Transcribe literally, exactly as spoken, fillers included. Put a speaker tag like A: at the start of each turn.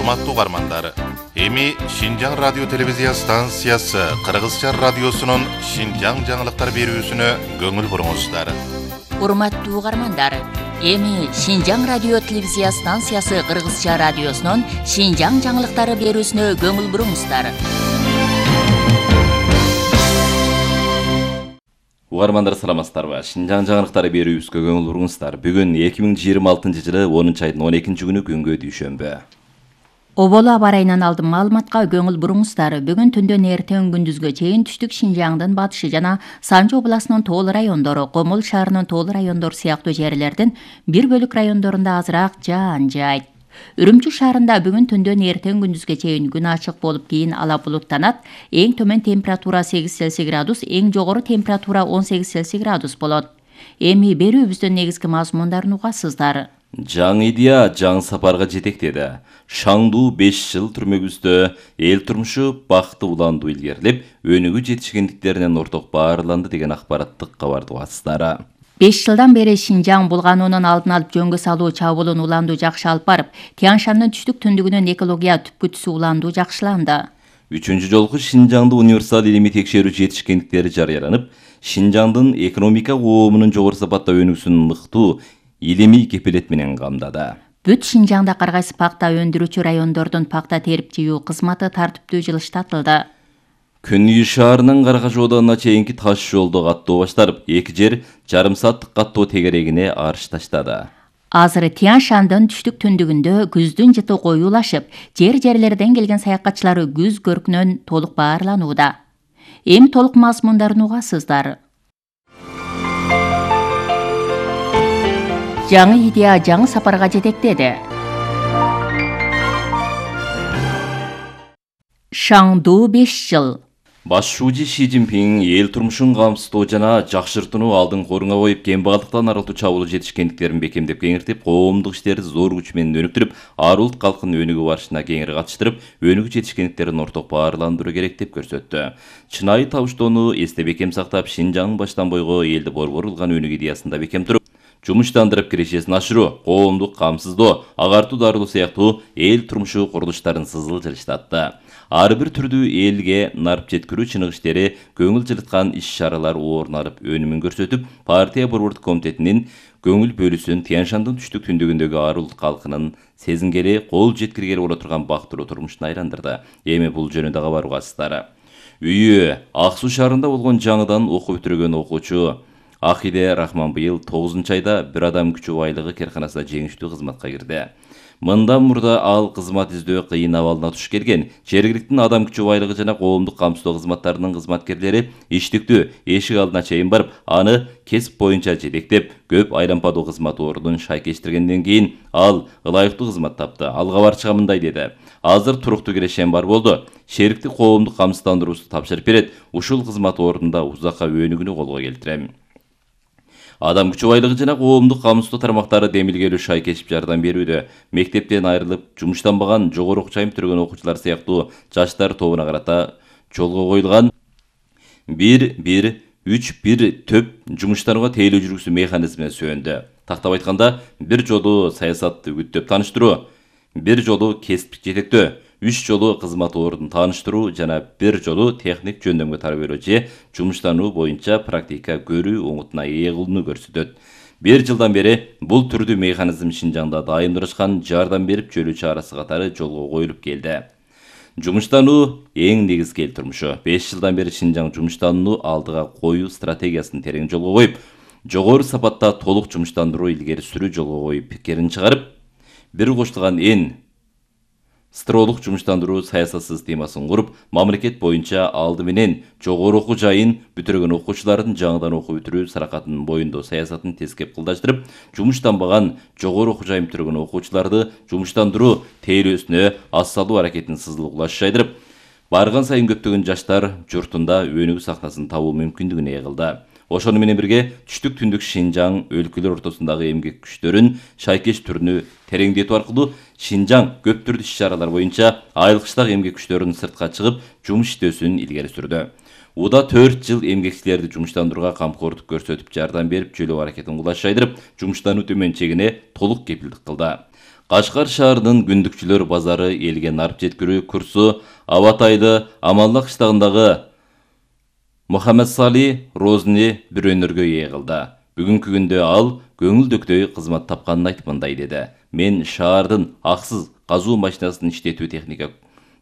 A: Урматтуу угармандар, эми Шинжаң радио телевизия станциясы Кыргызча радиосунун Шинжаң жаңылыктар берүүсүнө көңүл буруңуздар.
B: Урматтуу угармандар, эми Шинжаң радио телевизия станциясы Кыргызча радиосунун Шинжаң жаңылыктары берүүсүнө көңүл буруңуздар.
C: Угармандар саламатсыздарбы? Шинжаң жаңылыктары берүүбүзгө көңүл буруңуздар. Бүгүн эки миң жыйырма алтынчы жылы онунчу айдын он экинчи күнү күнгө дүйшөмбү.
B: Оболу аба ырайынан алдын маалыматка көңүл буруңуздар. Бүгүн түндөн эртең күндүзгө чейин түштүк Шинжаңдын батышы жана Санжы областынын тоолуу райондору, Комул шаарынын тоолуу райондору сыяктуу жерлердин бир бөлүк райондорунда азыраак жаан жаайт. Үрүмчү шаарында бүгүн түндөн эртең күндүзгө чейин күн ачык болуп, кийин ала булуттанат. Эң төмөн температура сегиз Цельсий градус, эң жогору температура он сегиз Цельсий градус болот. Эми берүүбүздүн негизги мазмундарын угасыздар.
C: Жаңы идея жаңы сапарга жетектеди. Шаңдуу беш жыл түрмөгүздө эл турмушу бакты уландуу илгерилеп, өнүгүү жетишкендиктеринен орток баарланды деген акпараттык кабарды угасыздар.
B: беш жылдан бери Шинжаң булгануунун алдын алып жөнгө салуу чабуулун уландуу жакшы алып барып, Тянь-Шандын түштүк түндүгүнөн экология түпкүтүсү уландуу жакшыланды.
C: Үчүнчү жолку Шинжаңды универсал илимий текшерүү жетишкендиктери жарыяланып, Шинжаңдын экономика коомунун жогору сапатта өнүүсүн мыктуу илимий кепилет менен камдады.
B: Бүт Шинжаңда кар кайсы пакта өндүрүүчү райондордун пакта терип жыюу кызматы тартиптүү жылыштатылды.
C: Күнүй шаарынын Каракаш оодонуна чейинки таш жолду каттоо башталып, эки жер жарым сааттык каттоо тегерегине арыш таштады.
B: Азыр Тянь-Шандын түштүк түндүгүндө күздүн жыты коюлашып, жер-жерлерден келген саякатчылар күз көркүнөн толук баарланууда. Эми толук мазмундарын угасыздар. Жаңы идея жаңы сапарга жетектеди. Шаңдуу беш жыл.
C: Башчуучу Ши Цзиньпин эл турмушун камсыздоо жана жакшыртууну алдын корунга коюп, кембагалдыктан арылтуу чабуул жетишкендиктерин бекемдеп кеңиртип, коомдук иштерди зор күч менен өнүктүрүп, ар улут калкын өнүгүү барышына кеңири катыштырып, өнүгүү жетишкендиктерин орток баарландыруу керек деп көрсөттү. Чынайы табыштоону эсте бекем сактап, Шинжаңдын баштан бойго элди борбор кылган өнүгүү идеясында бекем туруп, жумуштандырып кирешесин ашыруу, коомдук камсыздоо, агартуу дарылоо сыяктуу эл турмушу курулуштарын сызыл жылыштатты. Ар бир түрдүү элге нарып жеткирүү чыныгы иштери көңүл жылыткан иш-чаралар орун алып, өнүмүн көрсөтүп, партия борбордук комитетинин көңүл бөлүүсүн Тянь-Шандын түштүк түндүгүндөгү ар улут калкынын сезингели, кол жеткиргели боло турган бактылуу турмушуна айландырды. Эми бул жөнүндө кабар угасыздар. Үйү Ак Суу шаарында болгон жаңыдан окуп бүтүргөн окуучу Ахиде Рахман быйыл тогузунчу айда бир адам күчү байлыгы керканасына жеңиштүү кызматка кирди. Мындан мурда ал кызмат издөө кыйын абалына туш келген. Жергиликтин адам күчү байлыгы жана коомдук камсыздоо кызматтарынын кызматкерлери иштиктүү эшик алдына чейин барып, аны кесип боюнча жетектеп, көп айлампадуу кызмат ордун шайкештиргенден кийин ал ылайыктуу кызмат тапты. Ал кабарчыга мындай деди: "Азыр туруктуу кирешем бар болду. Шерикти коомдук камсыздандыруусу тапшырып берет. Ушул кызмат ордунда узакка өнүгүүнү колго келтирем." Адам күчү байлыгы жана коомдук камсыздоо тармактары демилгелүү шайкешип жардам берүүдө. Мектептен айрылып, жумуштанбаган, жогору окуу чайын бүтүргөн окуучулар сыяктуу жаштар тобуна карата жолго коюлган бир бир үч бир төп жумуштанууга тейлөө жүргүзүү механизмине сүйөндү. Тактап айтканда, бир жолу саясатты үгүттөп тааныштыруу, бир жолу кесиптик жетектөө, үч жолу кызмат ордун тааныштыруу жана бир жолу техник жөндөмгө тарбиялоо же жумуштануу боюнча практика көрүү оңутуна ээ кылууну көрсөтөт. Бир жылдан бери бул түрдүү механизм Шинжаңда дайымдашкан жардам берип жөлүү чарасы катары жолго коюлуп келди. Жумуштануу эң негизги эл турмушу. беш жылдан бери Шинжаң жумуштанууну алдыга коюу стратегиясын терең жолго коюп, жогору сапатта толук жумуштандыруу илгери сүрүү жолго коюп, пикирин чыгарып, бир коштулган эн строолук жумуштандыруу саясатсыз темасын куруп, мамлекет боюнча алды менен жогору окуу жайын бүтүргөн окуучулардын жаңыдан окуу бүтүрүү саракатынын боюндоо саясатын тескеп кылдаштырып, жумуштанбаган, жогору окуу жайын бүтүргөн окуучуларды жумуштандыруу тейлөөсүнө аз салуу аракетин сызыл кулаш жайдырып, барган сайын көптөгөн жаштар журтунда өнүгүү сахнасын табуу мүмкүндүгүн ээ кылды. Ошону менен бирге түштүк түндүк Шинжаң өлкөлөр ортосундагы эмгек күчтөрүн шайкеш түрүнү тереңдетүү аркылуу Шинжаң көп түрдүү иш-чаралар боюнча айылкычтагы эмгек күчтөрүнүн сыртка чыгып жумуш иштөөсүн илгери сүрдү. Уда төрт жыл эмгекчилерди жумуштандырууга камкордук көрсөтүп, жардам берип, жөлөө аракетин кулаш жайдырып, жумуштануу төмөн чегине толук кепилдик кылды. Кашкар шаарынын күндүкчүлөр базары элге нарып жеткирүү курсу Абатайды Аманлык кыштагындагы Мухаммед Сали Розни бир өнөргө ээ кылды. Бүгүнкү күндө ал көңүлдөктөй кызмат тапканын айтып мындай деди. Мен шаардын аксыз казуу машинасын иштетүү техника